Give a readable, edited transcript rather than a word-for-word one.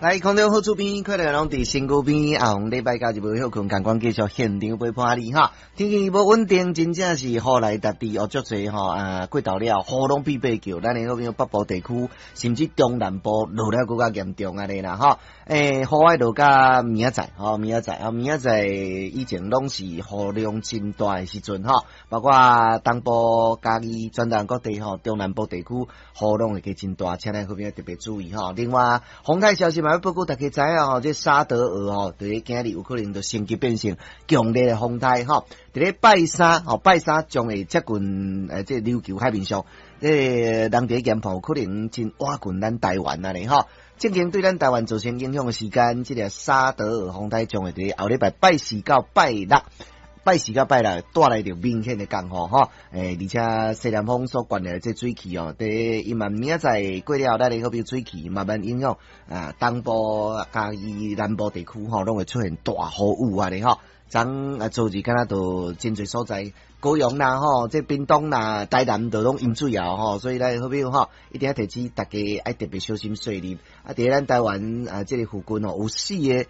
來，空中好厝邊，快樂攏佇身軀邊。啊，禮拜假日無歇睏，共款繼續現場陪伴你哈。天氣無穩定，真正是雨來沓地哦，足濟吼啊，過頭了，雨攏變白叫。咱的好朋友北部地區，甚至中南部落了閣較嚴重按呢啦吼。欸，雨愛落到明仔載吼，明仔載啊，明仔載以前攏是雨量真大的時陣吼，包括東部、嘉義、全台各地吼，中南部地區雨量會加真大，請咱好朋友特別注意吼。另外，風台消息嘛欲報告大家知影吼，這沙德爾吼，佇咧今日有可能就升級變成強烈的風台吼。佇咧拜三吼，拜三將會接近這琉球海面上，這個人佇咧研判有可能真倚近咱台灣按呢吼。正經對咱台灣造成影響的時間，這個沙德爾風台將會佇咧後禮拜拜四到拜六。拜四到拜六帶來著明顯的降雨吼，欸，而且西南風所關的這水汽哦，佇伊嘛明仔載過了後，咱的好比水汽慢慢影響啊，東部、嘉義南部地區吼，攏會出現大雨雨按呢吼。昨啊，昨日敢若都真濟所在，高雄啦吼，這屏東啦、台南都攏淹水啊吼，所以咱好朋友吼，一定要提醒大家愛特別小心細膩。啊，佇咱台灣啊，這个附近吼，有四个。